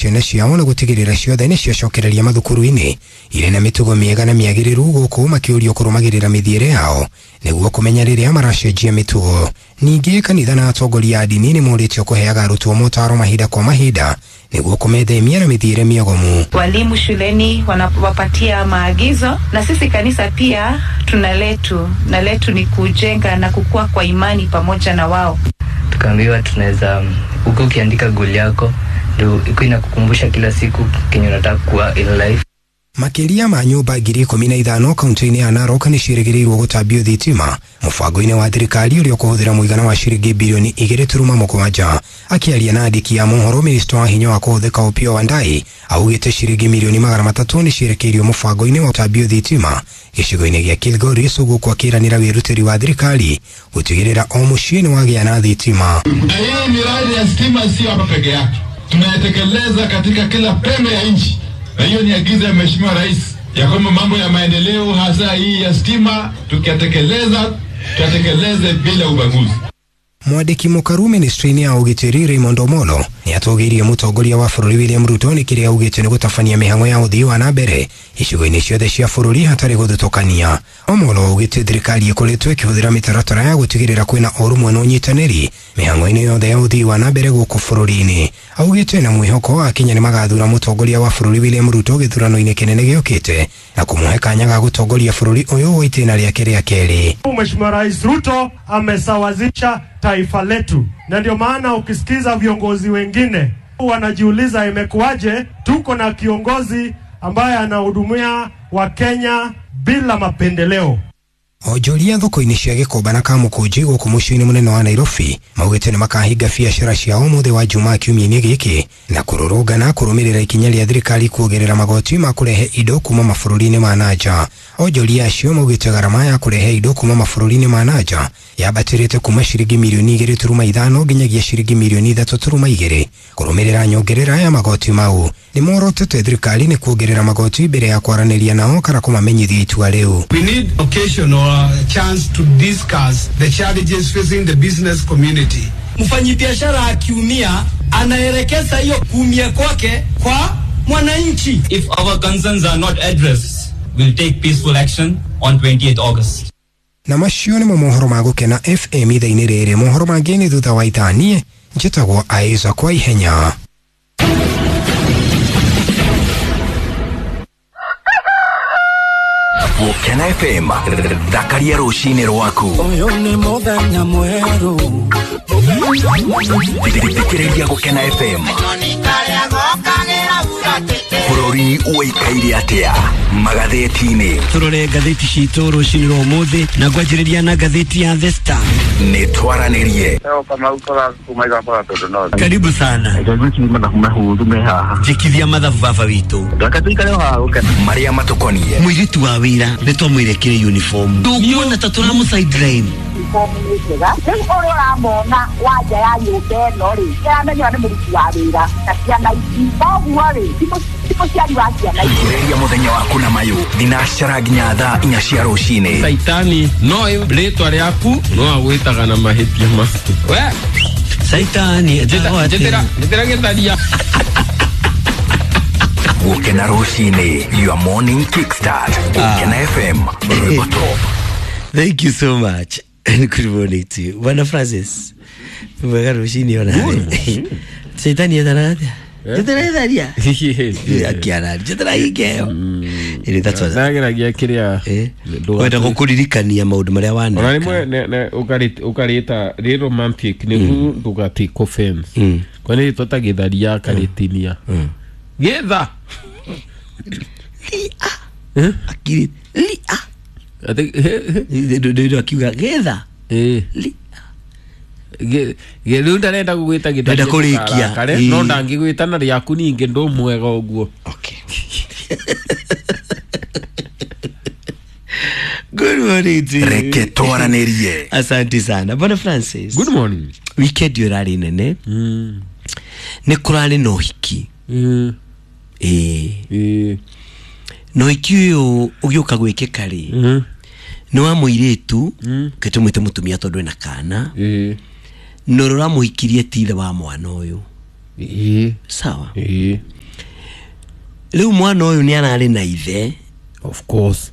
Ciana ciao na gũtigĩrĩra ciothe nĩ ciacokereria mathukuru-inĩ irĩ na mĩtugo mĩega na mĩagĩrĩru gũkũ makĩũrio kũrũmagĩrĩra mĩthiĩre yao nĩguo kũmenya rĩrĩa maracenjia mĩtugo. Ningĩ kanitha na atongoria a ndini nĩ morĩtio kũheaga arutwo motaro mahinda kwa mahinda nĩguo kũmethemia na mĩthiĩre mĩogomu. Walimu shuleni wanawapatia maagizo, na sisi kanisa pia tuna letu, na letu ni kujenga na kukua kwa imani pamoja na wao. Tukaambiwa tunaweza huko ukiandika goal yako ndio iko inakukumbusha kila siku kenye unataka kuwa in life. Makĩria ma nyũmba 15,000 kaunti-inĩ ya Narok nĩ ciĩrĩgĩrĩirwo gũtambio thitima mũbango-inĩ wa thirikari ũrĩa ũkũhũthĩra mũigana wa ciringi bilioni 2.7. Akĩaria na andĩki a mohoro, minista wa hinya wa kũhũthĩka Opiyo Wandayi augĩte ciringi milioni 300 nĩ cierekeirio mũbango-inĩ wa gũtambio thitima gĩcigo-inĩ gĩa Kilgoris, gũkũ akĩranĩra wĩrutĩri wa thirikari gũtigĩrĩra o mũciĩ nĩ wagĩa na thitima. Na hii miradi ya stima sio hapa peke yake, tunayetekeleza katika kila pembe ya nchi, na hiyo ni agizo ya Mheshimiwa Rais ya kwamba mambo ya maendeleo hasa hii ya stima tukiyatekeleza, tuyatekeleze bila ubaguzi. Mwandĩki mũkaru ministry-inĩ ya ũgitĩri Raymond Omolo nĩ atũgĩirie mũtongoria wa bũrũri William Ruto nĩ kĩrĩa augĩte nĩ gũtabania mĩhang'o ya ũthii wa na mbere icigo-inĩ ciothe cia bũrũri hatarĩ gũthutũkania. Omolo augĩte thirikari ĩkoretwo ĩkĩhũthĩra mĩtaratara ya gũtigĩrĩra kwĩna ũrũmwe na ũnyitanĩri mĩhang'o-inĩ yothe ya ũthii wa na mbere gũkũ bũrũri-inĩ. Augĩte na mwĩhoko Akenya nĩ magathura mũtongoria wa bũrũri William Ruto gĩthurano-inĩ kĩnene gĩũkĩte na kũmũhe kanya ga gũtongoria bũrũri ũyũ wa itĩna rĩake rĩa kerĩ. Mheshimiwa Rais Ruto amesawazisha taifa letu, na ndio maana ukisikiza viongozi wengine wanajiuliza imekuwaje tuko na kiongozi ambaye anahudumia Wakenya bila mapendeleo. Onjoria thoko-inĩ cia Gĩkomba na Kamũkũnji gũkũ mũciĩ-inĩ mũnene wa Nairobi maugĩte nĩ makahinga biacara ciao ũmũthĩ wa Jumaa kiumia-inĩ gĩkĩ na kũrũrũngana kũrũmĩrĩra ikinya rĩa thirikari kuongerera magoti ma kũrehe indo kuma mabũrũri-inĩ ma nanja. Onjoria acio maugĩte garama ya kũrehe indo kuma mabũrũri-inĩ ma nanja yambatĩrĩte kuma ciringi milioni 2.5 nginyagia ciringi milioni 3.2 kũrũmĩrĩra nyongerera ya magoti mau. Nĩ morotete thirikari nĩ kuongerera magoti mbere ya kwaranĩria nao kana kũmamenyithia itua rĩu. We need occasion or a chance to discuss the challenges facing the business community. Mfanyibiashara akiumia anaelekeza hiyo kuumia kwake kwa mwananchi. If our concerns are not addressed, we'll take peaceful action on 28 August. Na macio nĩmo mohoro ma Gũkena FM ithaa-inĩ rĩrĩ. Mohoro mangĩ nĩ thutha wa ithaa. Niĩ njĩtagwo Aiza kwa ihenya. Gũkena FM, thakaria rũcinĩ rwaku. Ũyũ nĩ mũthenya mwerũ. Thikĩrĩria Gũkena FM. Bũrũri ũikaire atĩa magathĩti-inĩ? Tũrore ngathĩti citũ rũcinĩ rwa ũmũthĩ na ngwanjĩrĩria na ngathĩti ya The Star. Nĩ twaranĩrie. Karibu sana. Njĩkithia mathabu baba witũ. Marĩa matũkoniĩ. Mũirĩtu wa wĩra nĩ twamwĩre kĩrĩ uniform. Ndũkuona ta tũramũ sideline. Rĩu ũrĩa ũramona wanja ya nyũmba ĩno rĩ, kĩramenywo nĩ mũruti wa wĩra na ciana ici, koguo rĩ ti mũciari wa ciana ici. Ambĩrĩria mũthenya waku na mayũ thinacara nginya thaa 4 cia rũcinĩ. Saitani no rĩtwa rĩaku no agwĩtaga na mahĩtia maku. We Saitani njĩtĩra gĩtharia. Gũkena rũcinĩ, your morning kickstart. Gũkena FM, rwĩmbo top. Thank you so much. Good morning to you. Bwana Francis. Mwega rũcinĩ ona. Saitani etana atĩa? Njĩtĩra gĩtharia. Akiara njĩtĩra ingeo. Ĩrĩ that's what. Nageragia kĩrĩa wenda gũkũririkania maũndũ marĩa waneka. Ona rĩmwe ũkarĩta rĩ romantic nĩguo ndũgatake offense. Kwa nĩ rĩtwa ta gĩtharia akarĩtinia. Gĩtha. Lia. Akiri lia. Ati akiuga gĩtha. Rĩu ndarenda gũgwĩta gĩtharia kũrĩkia no ndangĩgwĩta na rĩaku ningĩ ndũmwega ũguo. Okay. Good morning to you. Reke twaranĩrie. Asante sana. Bwana Francis. Good morning. Weekend yo ĩrarĩ nene. Nĩ kũrarĩ na ũhiki. Na ũhiki ũyũ ũgĩũka gwĩkĩka rĩ, nĩ wa mũirĩtu kĩtũmwĩte mũtumia tondũ ena kana, na ũrĩa ũramũhikirie ti ithe wa mwana ũyũ. Sawa. Rĩu mwana ũyũ nĩ ararĩ na ithe. Of course.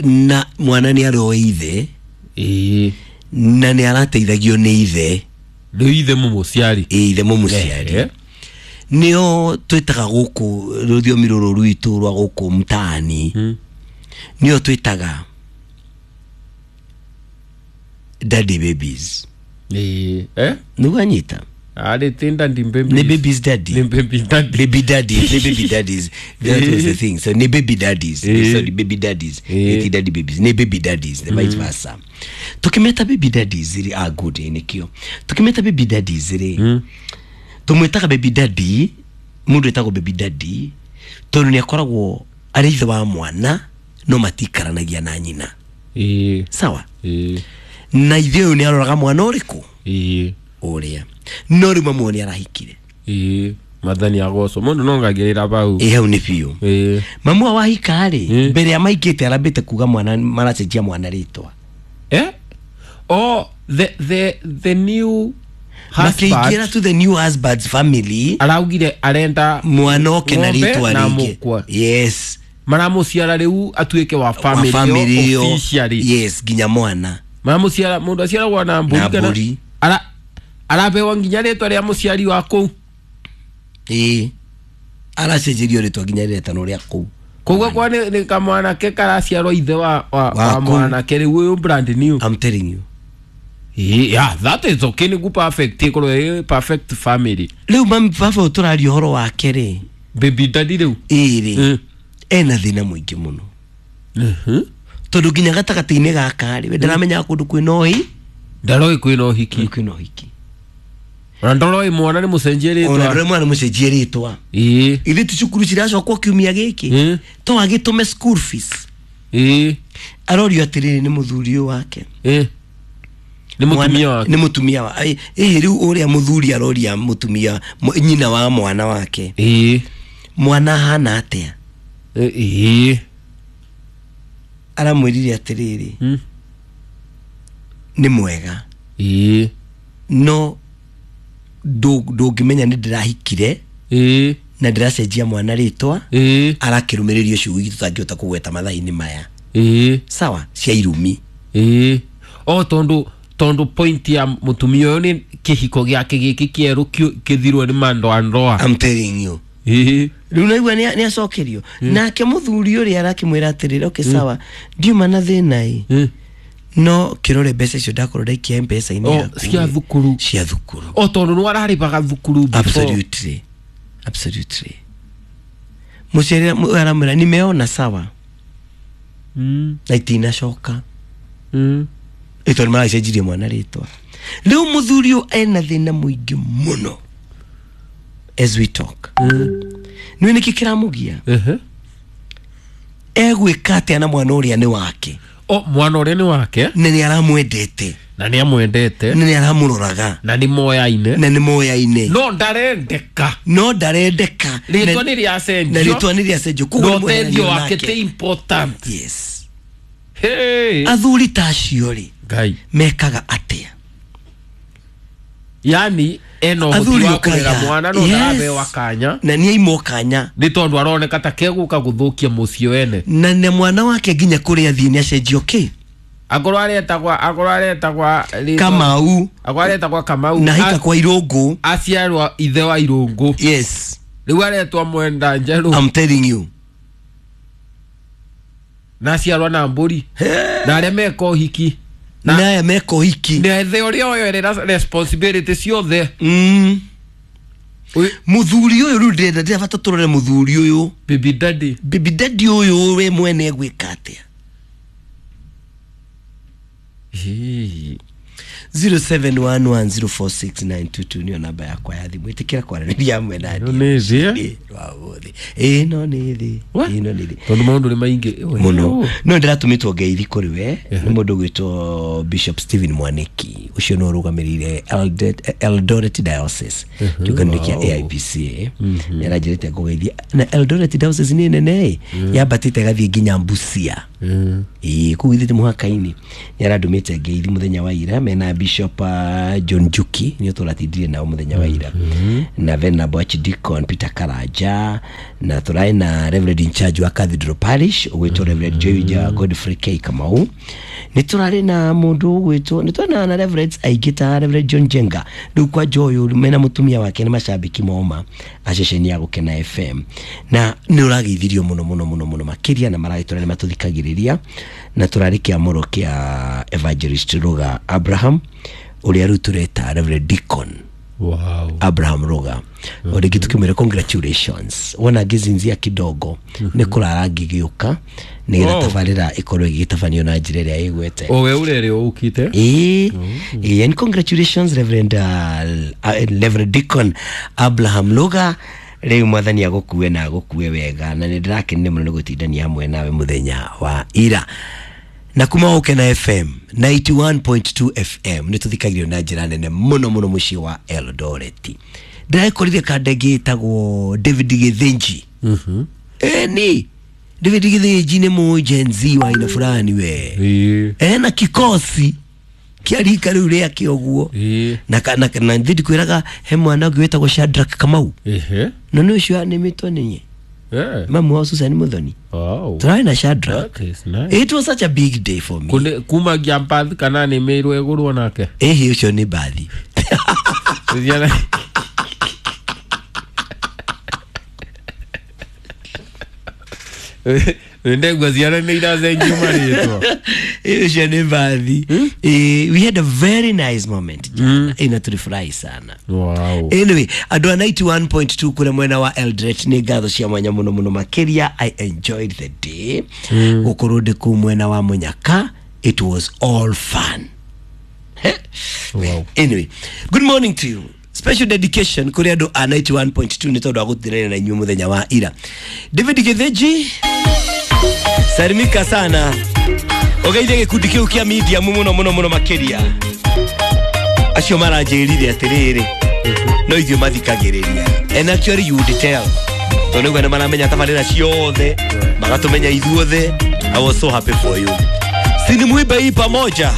Na mwana nĩ aroĩ ithe. Na nĩ arateithagio nĩ ithe. Rĩu ithe mũmũciari. Ithe mũmũciari. Nĩo twĩtaga gũkũ rũthiomi rũrũ rwitũ rwa gũkũ mtaani. Nĩo twĩtaga daddy babies. Nĩguo anyita? Ni babies daddy. Ni baby daddy. Baby daddies. Ni baby daddies. That was the thing. So ni baby daddies. Sorry, baby daddies. Ni daddy babies. Ni baby daddies. The vice versa. Tukimeta baby daddies iri good nikio. Tukimeta baby daddies iri. Tumwitaga baby daddy, mundu etagwo baby daddy tondu ni akoragwo ari ithe wa mwana no matikaranagia na nyina. Sawa? Na ithe uyu ni aroraga mwana uriku? Uria. No riu mamu ni arahikire. Mathani agoco mundu no ngagirira bau. Hau ni biũ. Mamu wahika ri mbere ya maikite arambite kuga mwana maracenjia mwana ritwa. Oh, the new husband to the new husband's family araugire arenda mwana oke na ritwa ringi. Yes. Maramuciara riu atuike wa family officially. Yes, nginya mwana. Maramuciara mundu aciaragwo na mburi kana arabewa nginya ritwa ria muciari wa kuu. Aracenjerio ritwa nginya riretano ria kuu. Koguo kwa ni kamwanake karaciarwo ithe wa mwanake riu uyu brand new. I'm telling you. Yeah, that is okay. Ni perfect. Ĩkorwo perfect family. Riu mami baba ũtũraria ũhoro wake rĩ. Baby daddy riu. Ĩrĩ. Ena thĩna mũingĩ mũno. Tondũ nginya gatagatĩ-inĩ gaka rĩ, we ndaramenyaga kũndũ kwĩna ũhi. Ndaroĩ kwĩna ũhiki. Kwĩna ũhiki. Ona ndoroĩ mwana nĩ mũcenjie rĩtwa. Ona ndoroĩ mwana nĩ mũcenjie rĩtwa. Ithuĩ ti cukuru ciracokwo kiumia gĩkĩ. To agĩtũme school fees. Arorio atĩrĩrĩ nĩ mũthuri ũyũ wake. Ni mutumia wake. Ni mutumia wa. Riu uria muthuri aroria mutumia nyina wa mwana wake. Mwana hana atia? Aramwirire atiriri. Ni mwega. No ndungimenya ni ndirahikire. Na ndiracenjia mwana ritwa. Arakirumiririo ciugo tutangihota kugweta mathaa-inĩ maya. Sawa, cia irumi. O tondu point ya mutumia uyu ni kihiko giake giki kieru kithirwo ni mandoa ndoa. I'm telling you. Riu naigua ni acokerio. Nake muthuri uria arakimwira atiriri, okay sawa, ndiuma na thina i. No kirore mbeca icio ndakorwo ndaikia M-Pesa-inĩ yaku. Cia thukuru. Cia thukuru. O tondu ni wararibaga thukuru before. Absolutely. Absolutely. Muciari aramwira nimeona sawa. Na itinacoka. Ito maracenjirie mwana ritwa. Riu muthuri uyu ena thina muingi muno. As we talk. Nĩ nĩkĩ kĩramugia? Egwĩka atĩa na mwana ũrĩa nĩ wake? O mwana ũrĩa nĩ wake? Na nĩ aramwendete. Na nĩ amwendete. Na nĩ aramũroraga. Na nĩ moyaine. Na nĩ moyaine. No ndarendeka. No ndarendeka. Rĩtwa nĩ rĩacenjio. Na rĩtwa nĩ rĩacenjio. Koguo ũteithio wake ti important. Yes. Hey. Athuri ta acio rĩ Ngai mekaga atia? Yani eno Athuri ũhoti wa kũrera ũkaya. mwana no Yes. ndarabewa kanya. Na nĩ aimwo kanya. Nĩ tondũ aroneka ta kegũka gũthũkia mũciĩ wene. Na nĩ mwana wake nginya kũrĩa athiĩ nĩ acenjio kĩ? Akorwo aretagwa Kamau. Akorwo aretagwa Kamau. Na hika kwa Irũngũ. Aciarwa ithe wa Irũngũ. Yes. Rĩu aretwa Mwenda Njerũ. I'm telling you. Na aciarwa na mbũri. Na arĩa meka ũhiki. Na aya meka ũhiki. Na ithe ũrĩa oerera responsibility ciothe. Muthuri ũyũ rĩu ndĩrenda ndĩrabata tũrore muthuri ũyũ. Baby daddy. Baby daddy ũyũ we mwene egwĩka atĩa? 0711046922 niyo namba yakwa ya thimũ. Ĩtĩkĩra kwaranĩria hamwe na No nĩ thĩ. Ĩĩ no nĩ thĩ. Ĩĩ no nĩ thĩ. Tondũ maũndũ nĩ maingĩ mũno. No ndĩratũmĩtwo ngeithi kũrĩ we nĩ mũndũ ũgwĩtwo Bishop Stephen Mwaniki ũcio nĩ ũrũgamĩrĩire Eldoret Diocese kĩũngano kĩa AIPC. Nĩ aranjĩrĩte ngũgeithia na Eldoret Diocese nĩ nene yambatĩte ĩgathiĩ nginya Busia. Ĩĩ kũu ithuĩ mũhaka-inĩ nĩ arandũmĩte ngeithi mũthenya wa ira mena Bishop John Njuki nĩo tũratindire nao mũthenya wa ira na Venerable Archdeacon Peter Karanja na tũraĩ na Reverend in charge wa Cathedral Parish ũgwĩtwo Reverend Joy Godfrey K Kamau nĩ tũrarĩ na mũndũ ũgwĩtwo nĩ tũrarĩ na Reverends aingĩ ta Reverend John Jenga rĩu kwa Joy mena mũtumia wake nĩ macambĩki moma a ceceni ya Gũkena FM na nĩ ũrageithirio mũno mũno mũno mũno makĩria na maragĩtũra nĩ matũthikagĩrĩria na tũrarĩ kĩamũro kĩa Evangelist Ruga Abraham ũrĩa rĩu tũreta Reverend Deacon Wow. Abraham Ruga o rĩngĩ tũkĩmwĩra congratulations wona ngĩzinzia kidogo nĩ kũrara ngĩgĩũka nĩgetha Oh. tabarĩra ĩkorwo ĩgĩtabanio na njĩra ĩrĩa ĩgwete O we ũrerĩ ũkite Ĩĩ, ĩĩ, and congratulations Reverend, Reverend Deacon Abraham Luga rĩu mwathani agũkue na agũkue wega na nĩ ndĩrakenire mũno nĩ gũtindania hamwe nawe mũthenya wa ira na kuma Gũkena FM 91.2 FM nĩ tũthikagĩrio na njĩra nene mũno mũno mũciĩ wa Eldoret ndĩrakorire kandenge ĩtagwo David Gĩthĩnji ĩni David Gĩthĩnji nĩ mũ Gen Z wa aina fulani we ena kikosi kĩa rika rĩu rĩake ũguo na na na thidi kwĩraga he mwana ũngĩ wĩtagwo Shadrack Kamau Ehe. na nĩ ũcio anĩmĩtwo nĩ Eh. mamu wa Susan Muthoni Wow. tũrarĩ na Shadrack. That is nice. It was such a big day for me. Kune kuma ngiampathi kana nĩ mĩirwo ĩgũrwo nake ĩhĩ ũcio nĩ bathi Ndegwa ciana nĩ iracenjio marĩtwa ũcio nĩ bathi. We had a very nice moment jana. Na tulifurahi sana. Wow. Anyway, andũ a 91.2 kũrĩa mwena wa Eldoret nĩ ngatho cia mwanya mũno mũno makĩria. I enjoyed the day. Gũkorwo ndĩ kũu mwena wa Mũnyaka, it was all fun. Wow. Anyway, good morning to you. Special dedication kũrĩ andũ a 91.2 nĩ tondũ wa gũtinania na inyuĩ mũthenya wa ira. David Gĩthĩnji, salimika sana. Ũgeithie gĩkundi kĩu kĩa media mũno mũno mũno makĩria. Acio maranjĩrire atĩrĩrĩ, no ithuĩ mathikagĩrĩria. And actually you would tell. Tondũ nĩguo nĩ maramenya tabarĩra ciothe, magatũmenya ithuothe. I was so happy for you. Sinimwimbe hii pamoja.